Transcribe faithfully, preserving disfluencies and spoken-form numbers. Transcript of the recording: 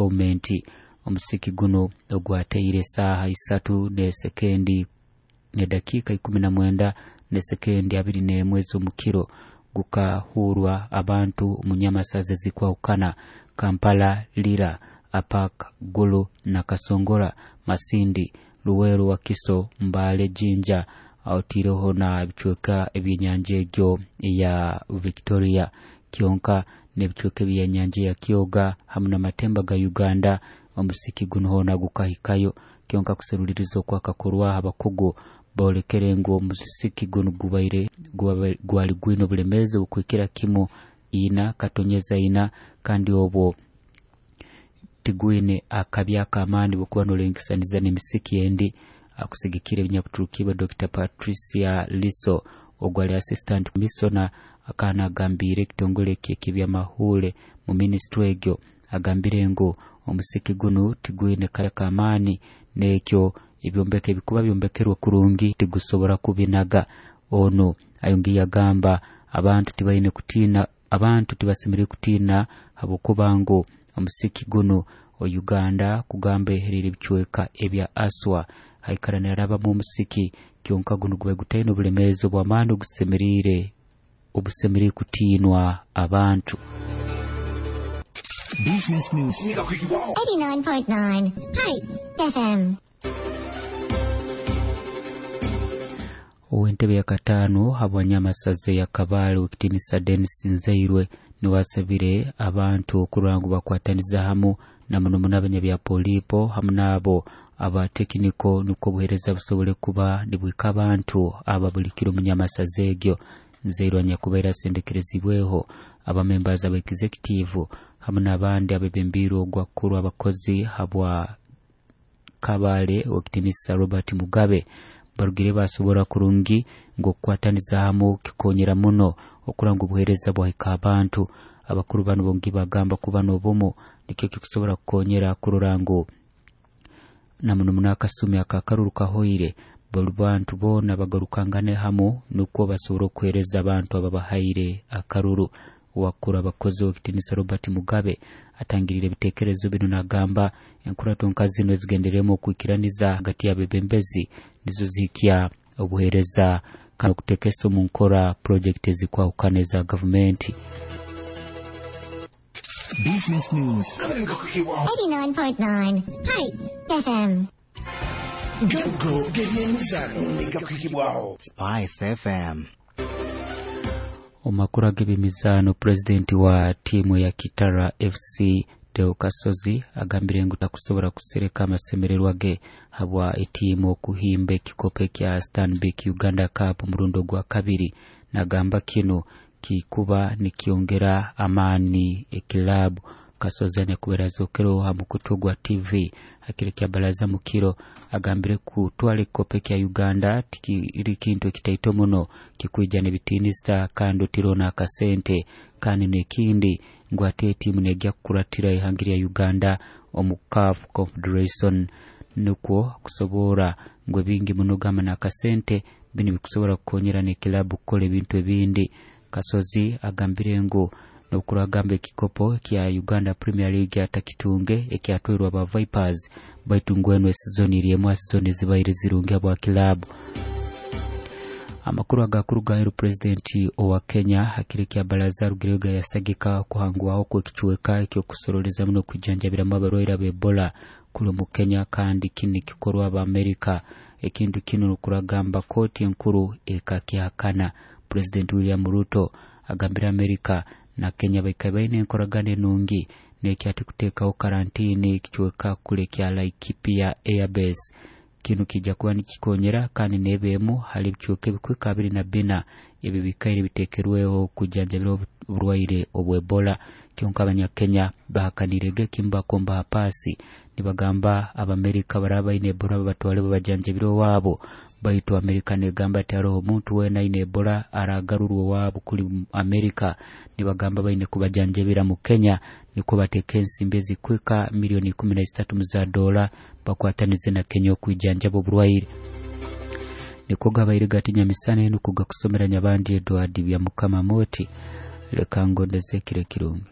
Bomenti. Omusiki guno ogwateire saaha isatu n'esekendi n'edakiika ikumi na mwenda n'esekendi abiri n'emwe ez'omukiro gukahurwa abantu omu nyamasaza ezikwahukana Kampala, Lira, Apak, Gulu na Kasongora, Masindi, Luweero, Wakiso, Mbale, Jinja, otiireho na ebicweka eby'enyanja egyo eya Victoria kyonka n'ebicweka eby'enyanja ya Kyoga hamu n'amatemba ga Uganda. Omusiki guno hoona gukahikayo kyonka kuseruliriza okwakakorwaho abakugu boolekere ngu omusiki guno gubaire gwali gwine obulemeezi obukuhikira kimu ina katonyeza ina kandi obwo tigwine akabi ak'amaani bwokuba nolengesaniza n'emisiki endi. Akusigikire ebinyakuturukibwa Doctor Patricia Liso ogwali assistant commissioner akana agambire ekitongole eky'ebyamahuule mu ministry egyo agambire ngu omusiki guno tigwine kale k'amaani n'ekyo ebyombeko ebikuba byombekerwe kurungi tigusobora kubinaga. Ono ayongiye agamba abantu tibaine kutiina, abantu tibasemeriire kutiina habwokuba ngu omusiki guno o Uganda kugamba eherire ebicweka ebya Aswa haikara narabamu omusiki kyonka guno guba gutaine obulemeezi obw'amaani ogusemeriire obusemeriire kutiinwa abantu. Business News eighty-nine point nine Spice F M. Ow'entebe ya kataano habwanyamasaza ya Kabale w'ekitiinisa Denis Nzeirwe niwasabire abantu okurora ngu bakwataniza hamu na muno muno abanyabyapolipo hamu n'abo abatekiniko nukwo obuheereza busobole kuba nibwika abantu aba buli kiro mu nyamasaza egyo. Nzeirwe anyakubaire asendekerezibweho abamembazi aba executive hamu n'abandi abebembiirwe ogwakuru abakozi habwa Kabale w'ekitiinisa Robert Mugabe barugire basobora kurungi ngu okukwataniza hamu kikonyera muno okurora ngu obuheereza bwahika abantu. Abakuru bano bongi bagamba kuba n'obumu nikyo kikusobora kukonyera kurora ngu na muno muno akasumi akakaruru kahoire buli bantu boona bagarukangane hamu nukwo basobora okuheereza abantu ababahaire akaruru. Wakuru abakozi w'ekitiinisa Robert Mugabe atangirire ebiteekerezo bino nagamba enkurato nka zino ezigendereremu okwikiraniza hagati y'abebembezi nizo zihikya obuheereza kandi okuteekesa omu nkora projekiti ezikwahukana eza gavumenti. Business News eighty-nine point nine Spice F M. Garuko g'ebyemizano gakuhikibwaho Spice F M. Omakuru ag'ebyemizaano, pulezidenti wa tiimu ya Kitara F C Deo Kasozi agambire ngu takusobora kusereka amasemererwa ge habwa etiimu okuhimba ekikopo ekya Stanbic Uganda Cup omurundi ogwa kabiri. Nagamba kino kikuba nikyongera amaani ekilabu. Kasozi anyakubaire azokereho ha mukutu gwa T V akiro kya baraza mukiro agambire kutwara ekikopo ekya Uganda tikiri kintu ekitaito muno kikwija n'ebitiinisa kandi otirona akasente kandi n'ekindi ngu ate etiimu negya kukuratira ihanga lya Uganda omu C A F Confederation nukwo kusobora ngu ebingi muno gamba n'akasente bino bikusobora kukonyera n'ekilabu kukora ebintu ebindi. Kasozi agambire ngu nokuragamba ekikopo kya Uganda Premier League atakitunge ekyatwairwe aba Vipers baitu ngweno esizoni eri emu sizoni zibaire zirungi abwa kilabu. Amakuru agakuruga aheru, pulezidenti owa Kenya hakiri kya baraza arugireyo yasagika kuhangwaho kw'ekicweka ekyokusoroleza muno kwijanjabiramu abarwaire aba Ebola kuli mu Kenya kandi kini kikorwa aba Amerika. Ekintu kino nukuragamba kooti enkuru ekakihakana. Pulezidenti William Ruto agambira Amerika na Kenya baikaire baine enkoragana enungi n'ekyati kuteekaho karantini ekicweka kule kya Laikipia Airbase. Kino kijja kuba nikikonyera kandi n'ebeemu hali ebicweka ebikwika abiri na bina ebi bikaire biteekerweho kujanjabira oburwaire obw'Ebola. Kyonka abanyakenya bahakanirege kimbakomba paasi nibagamba Abamerika baraba baine Ebola babatwale babajanjabire owaabo, baitu Amerika negamba ati haroho omuntu weena aine Ebola aragarurwa owaabo kuli Amerika. Nibagamba baine kubajanjabira mu Kenya nikwo bateeka ensimbi ezikwika milioni ikumi na isatu za dola bakwatanize na Kenya okwijanjaba oburwaire. Nikwo gabaire gatinya misana enu kugakusomera Nyabandi Edward Byamukama Moti. Leka ngondeze kire kirungi.